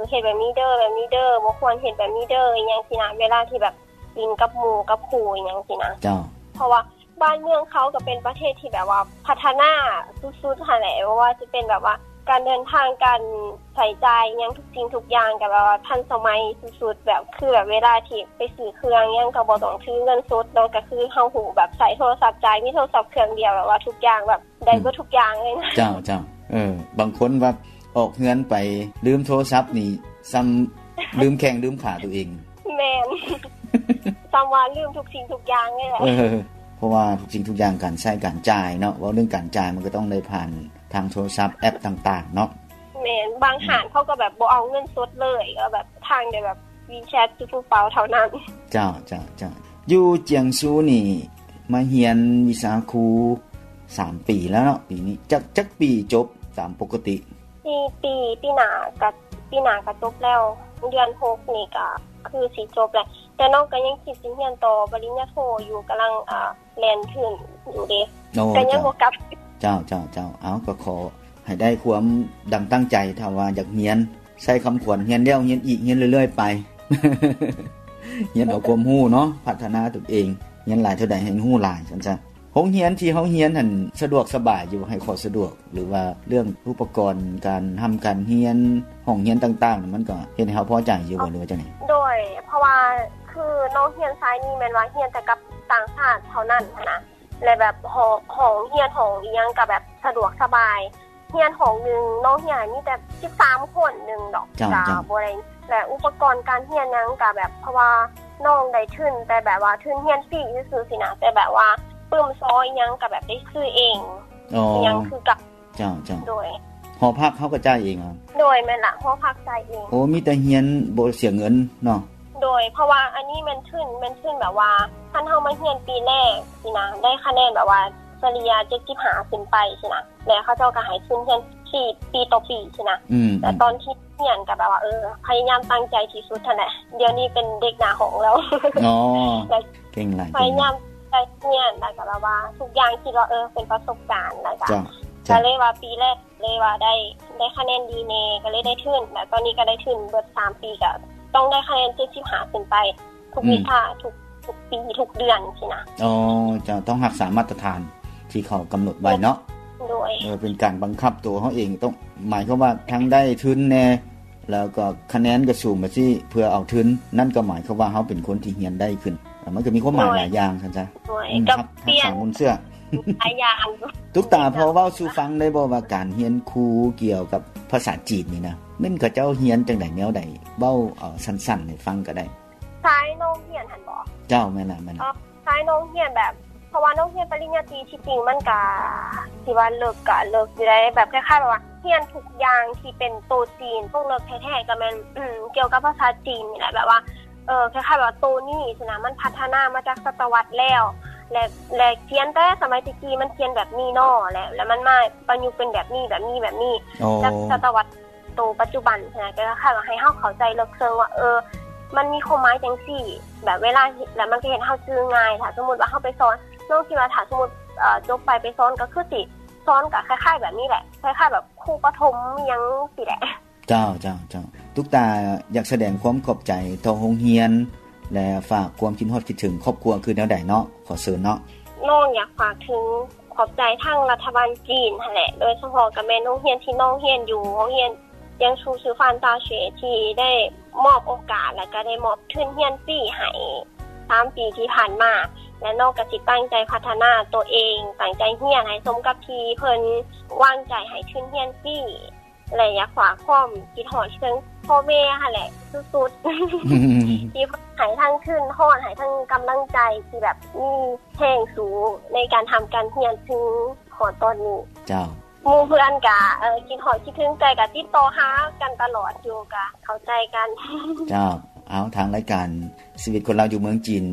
ເຮັດແບບນີ້ເດີ ແບບນີ້ເດີ ບໍ່ຄວນເຮັດແບບນີ້ເດີ ອີ່ຫຍັງຊີ້ນະ ເວລາທີ່ແບບຫຼິ້ນກັບໝູ່ກັບຄູ່ ອີ່ຫຍັງຊີ້ນະ. ເຈົ້າ. ເພາະວ່າບ້ານເມືອງເຂົາກໍເປັນປະເທດທີ່ແບບວ່າພັດທະນາສຸດໆຫັ້ນແຫຼະ ບໍ່ວ່າຈະເປັນແບບວ່າການເດີນທາງ ການໃຊ້ຈ່າຍຫຍັງ ທຸກສິ່ງທຸກຢ່າງກໍແບບວ່າທັນສະໄໝສຸດໆ ແບບຄືແບບເວລາທີ່ໄປຊື້ເຄື່ອງຫຍັງກໍບໍ່ຕ້ອງຖືເງິນສົດເນາະ ກໍຄືເຮົາຮູ້ແບບໃຊ້ໂທລະສັບຈ່າຍ ມີໂທລະສັບເຄື່ອງດຽວ ແບບວ່າທຸກຢ່າງແບບ ໄດ້ເບິດທຸກຢ່າງເລີຍນະ. ເຈົ້າ ເຈົ້າ. ເອີ ບາງຄົນວ່າອອກເຮືອນໄປລືມໂທລະສັບນີ້ ສ່ຳລືມແຂ້ງລືມຂາຕົວເອງ. ແມ່ນ. ສ່ຳວ່າລືມທຸກສິ່ງທຸກຢ່າງເລີຍແຫຼະ. ເອີ ເພາະວ່າທຸກສິ່ງທຸກຢ່າງ ການໃຊ້ການຈ່າຍເນາະ ເວົ້າເລື່ອງການຈ່າຍ ມັນກໍຕ້ອງໄດ້ຜ່ານທາງໂທລະສັບ ແອັບຕ່າງໆເນາະ. ແມ່ນ. ບາງຮ້ານເຂົາກໍແບບບໍ່ເອົາເງິນສົດເລີຍ ກໍແບບທາງໄດ້ແບບ WeChat ຫຼື Super Pay ເທົ່ານັ້ນ. ເຈົ້າ ເຈົ້າ ເຈົ້າ. ຢູ່ຈຽງຊູນີ້ມາຮຽນວິຊາຄູສາມປີແລ້ວເນາະ ປີນີ້ ຈັກ ຈັກປີຈົບຕາມປົກກະຕິ? ສີ່ປີ ປີໜ້າກະ ປີໜ້າກະຈົບແລ້ວ ເດືອນຫົກນີ້ກະຄືຊິຈົບແລ້ວ ແຕ່ນ້ອງກະຍັງຄິດຊິຮຽນຕໍ່ປະລິນຍາໂທຢູ່ ກຳລັງ ເອີ ແລ່ນທຶນຢູ່ເດ້. ໂອ້ ກະຍັງບໍ່ກັບ. ເຈົ້າ ເຈົ້າ ເຈົ້າ. ເອົາ ກໍຂໍໃຫ້ໄດ້ຄວາມດັ່ງຕັ້ງໃຈ ຖ້າວ່າຢາກຮຽນ ໃຊ້ຄຳຂວັນ ຮຽນແລ້ວຮຽນອີກ ຮຽນເລື້ອຍໆໄປ ຮຽນເອົາຄວາມຮູ້ເນາະ ພັດທະນາຕົນເອງ ຮຽນຫຼາຍເທົ່າໃດໃຫ້ຮູ້ຫຼາຍ ຊັ້ນຊະ. ໂຮງຮຽນທີ່ເຮົາຮຽນຫັ້ນສະດວກສະບາຍຢູ່ ໃຫ້ຂໍ້ສະດວກ ຫຼືວ່າເລື່ອງອຸປະກອນການຮ່ຳການຮຽນ ຫ້ອງຮຽນຕ່າງໆ ມັນກໍເຮັດໃຫ້ເຮົາພໍໃຈຢູ່ບໍ່ ຫຼືວ່າຈັ່ງໃດ? ໂດຍ ເພາະວ່າຄືນ້ອງຮຽນສາຍນີ້ແມ່ນວ່າຮຽນແຕ່ກັບຕ່າງຊາດເທົ່ານັ້ນຫັ້ນນະ ແລະແບບຫ້ອງ ຫ້ອງຮຽນ ຫ້ອງອີ່ຫຍັງກໍແບບສະດວກສະບາຍ ຮຽນຫ້ອງໜຶ່ງ ນ້ອງຮຽນມີແຕ່ສິບສາມຄົນໜຶ່ງດອກ. ເຈົ້າ ກໍ ເຈົ້າ ບໍ່ໄດ້ ແລະອຸປະກອນການຮຽນຫຍັງກໍແບບ ເພາະວ່ານ້ອງໄດ້ທຶນ ແຕ່ແບບວ່າທຶນຮຽນຟຣີຊື່ໆຊີ້ນະ ແຕ່ແບບວ່າປຶ້ມຊໍອີ່ຫຍັງກໍແບບໄດ້ຊື້ເອງ ອໍ ອີ່ຫຍັງຄືກັບ. ເຈົ້າ ເຈົ້າ. ໂດຍ. ຫໍພັກເຮົາກໍຈ່າຍເອງເອົາ? ໂດຍ ແມ່ນລະ ຫໍພັກຈ່າຍເອງ. ໂອ້ ມີແຕ່ຮຽນບໍ່ເສຍເງິນເນາະ? ໂດຍ ເພາະວ່າອັນນີ້ແມ່ນທຶນ ແມ່ນທຶນແບບວ່າ ຄັນເຮົາມາຮຽນປີແລກຊີ້ນະ ໄດ້ຄະແນນແບບວ່າສະເລ່ຍເຈັດສິບຫ້າຂຶ້ນໄປຊີ້ນະ ແລ້ວເຂົາເຈົ້າກໍໃຫ້ທຶນຮຽນສີ່ປີຕໍ່ປີຊີ້ນະ. ອືມ ແລ້ວຕອນທີ່ຮຽນກໍແບບວ່າ ເອີ ພະຍາຍາມຕັ້ງໃຈທີ່ສຸດຫັ້ນແຫຼະ. ດຽວນີ້ເປັນເດັກໜ້າຫ້ອງແລ້ວ. ອໍ ແລ້ວເກັ່ງຫຼາຍ ພະຍາຍາມຕັ້ງໃຈຮຽນ ແລ້ວກໍແບບວ່າທຸກຢ່າງຄິດວ່າ ເອີ ເປັນປະສົບການ ແລ້ວກໍ ເຈົ້າ ກໍເລີຍວ່າປີແລກເລີຍວ່າໄດ້ ໄດ້ຄະແນນດີແດ່ ກໍເລີຍໄດ້ທຶນ ແລ້ວຕອນນີ້ກໍໄດ້ທຶນເບິດສາມປີ ກໍຕ້ອງໄດ້ຄະແນນເຈັດສິບຫ້າຂຶ້ນໄປ ທຸກ ອືມ ວິຊາ ທຸກ ທຸກປີ ທຸກເດືອນຊີ້ນະ. ອໍ ເຈົ້າ ຕ້ອງຮັກສາມາດຕະຖານທີ່ເຂົາກຳນົດໄວ້ເນາະ. ໂດຍ. ເອີ ເປັນການບັງຄັບຕົວເຮົາເອງ ຕ້ອງ ໝາຍຄວາມວ່າທັງໄດ້ທຶນແດ່ ແລ້ວກໍຄະແນນກໍສູງແບບຊີ້ ເພື່ອເອົາທຶນ ນັ້ນກໍໝາຍຄວາມວ່າເຮົາເປັນຄົນທີ່ຮຽນໄດ້ຂຶ້ນ. ມັນກໍມີຄວາມໝາຍ ໂດຍ ຫຼາຍຢ່າງຊັ້ນຊະ. ໂດຍ. ອືມ ກັບ ຮັກ ຮັກສາບຸນເຊື່ອ ຫຼາຍຢ່າງ. ຕຸກຕາ ພໍເວົ້າສູ່ຟັງໄດ້ບໍ່ວ່າການຮຽນຄູກ່ຽວກັບພາສາຈີນນີ້ນະ ແມ່ນເຂົາເຈົ້າຮຽນຈັ່ງໃດແນວໃດ? ເວົ້າ ເອີ ສັ້ນໆໃຫ້ຟັງກໍໄດ້. ສາຍນ້ອງຮຽນຫັ້ນບໍ? ເຈົ້າ ແມ່ນລະ ແມ່ນລະ. ເອີ ສາຍນ້ອງຮຽນແບບ ເພາະວ່ານ້ອງຮຽນປະລິນຍາຕີ ທີ່ຈິງມັນກະຊິວ່າເລິກກະເລິກຢູ່ໃດ໋ ແບບຄ້າຍໆແບບວ່າຮຽນທຸກຢ່າງທີ່ເປັນໂຕຈີນ ພວກເລິກແທ້ໆກໍແມ່ນ ອືມ ກ່ຽວກັບພາສາຈີນນີ້ແຫຼະ ແບບວ່າ ເອີ ຄ້າຍໆແບບວ່າໂຕນີ້ຊີ້ນະ ມັນພັດທະນາມາຈາກສະຕະວັດແລ້ວ ແລະ ແລະຂຽນແຕ່ສະໄໝແຕ່ກີ້ມັນຂຽນແບບນີ້ເນາະ ແລະ ແລະມັນມາປະຍຸກເປັນແບບນີ້ ແບບນີ້ ແບບນີ້ ອໍ ຈາກສະຕະວັດ ໂຕປັດຈຸບັນຫັ້ນນະ ກໍຄ້າຍວ່າໃຫ້ເຮົາເຂົ້າໃຈເລິກເຊິ່ງວ່າ ເອີ ມັນມີຄວາມໝາຍຈັ່ງຊີ້ ແບບເວລາເຮັດແລ້ວມັນກໍເຮັດໃຫ້ເຮົາຈື່ງ່າຍ. ຖ້າສົມມຸດວ່າເຮົາໄປສອນ ນ້ອງຄິດວ່າຖ້າສົມມຸດ ເອີ ຈົບໄປ ໄປສອນກໍຄືຊິສອນກໍຄ້າຍໆແບບນີ້ແຫຼະ ຄ້າຍໆແບບຄູປະຖົມອີ່ຫຍັງຊີ້ແຫຼະ. ເຈົ້າ ເຈົ້າ ເຈົ້າ. ຕຸກຕາຢາກສະແດງຄວາມຂອບໃຈຕໍ່ໂຮງຮຽນ ແລະ ຝາກຄວາມຄິດຮອດຄິດເຖິງຄອບຄົວຄືແນວໃດເນາະ? ຂໍເຊີນເນາະ. ນ້ອງຢາກຝາກເຖິງ ຂອບໃຈທາງລັດຖະບານຈີນຫັ້ນແຫຼະ ໂດຍສະເພາະກໍແມ່ນໂຮງຮຽນທີ່ນ້ອງຮຽນຢູ່ ໂຮງຮຽນຈຽງຊູຊື່ຟານຕາເຊ ທີ່ໄດ້ມອບໂອກາດ ແລະ ກໍໄດ້ມອບທຶນຮຽນຟຣີໃຫ້ສາມປີທີ່ຜ່ານມາ ແລະ ນ້ອງກໍຊິຕັ້ງໃຈພັດທະນາຕົວເອງ ຕັ້ງໃຈຮຽນໃຫ້ສົມກັບທີ່ເພິ່ນວາງໃຈໃຫ້ທຶນຮຽນຟຣີ ແລະ ຢາກຝາກຄວາມຄິດຮອດເຖິງພໍ່ແມ່ຫັ້ນແຫຼະສຸດໆ ທີ່ເພິ່ນໃຫ້ທັງທຶນຮອດ ໃຫ້ທັງກຳລັງໃຈ ທີ່ແບບມີແຮງສູງໃນການທຳການຮຽນເຖິງຮອດຕອນນີ້. ເຈົ້າ. ໝູ່ເພື່ອນກະ ເອີ ຄິດຮອດຄິດເຖິງ ແຕ່ກະຕິດຕໍ່ຫາກັນຕະຫຼອດຢູ່ ກະເຂົ້າໃຈກັນ. ເຈົ້າ. ເອົາ ທາງລາຍການຊີວິດຄົນລາວຢູ່ເມືອງຈີນ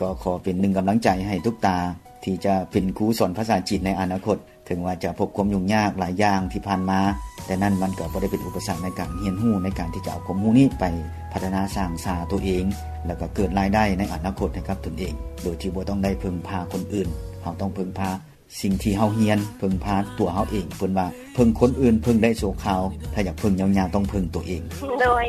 ກໍຂໍເປັນໜຶ່ງກຳລັງໃຈໃຫ້ຕຸກຕາ ທີ່ຈະເປັນຄູສອນພາສາຈີນໃນອະນາຄົດ. ເຖິງວ່າຈະພົບຄວາມຫຍຸ້ງຍາກຫຼາຍຢ່າງທີ່ຜ່ານມາ, ແຕ່ນັ້ນມັນກໍບໍ່ໄດ້ເປັນອຸປະສັກໃນການຮຽນຮູ້, ໃນການທີ່ຈະເອົາຄວາມຮູ້ນີ້ໄປພັດທະນາສ້າງສາຕົວເອງ, ແລ້ວກໍເກີດລາຍໄດ້ໃນອະນາຄົດໃຫ້ກັບຕົນເອງ, ໂດຍທີ່ບໍ່ຕ້ອງໄດ້ເພິ່ງພາຄົນອື່ນ. ເຮົາຕ້ອງເພິ່ງພາສິ່ງທີ່ເຮົາຮຽນ, ເພິ່ງພາຕົວເຮົາເອງ. ເພິ່ນວ່າ ເພິ່ງຄົນອື່ນເພິ່ງໄດ້ຊົ່ວຄາວ, ຖ້າຢາກເພິ່ງຍາວໆ ຕ້ອງເພິ່ງຕົວເອງ. ໂດຍ.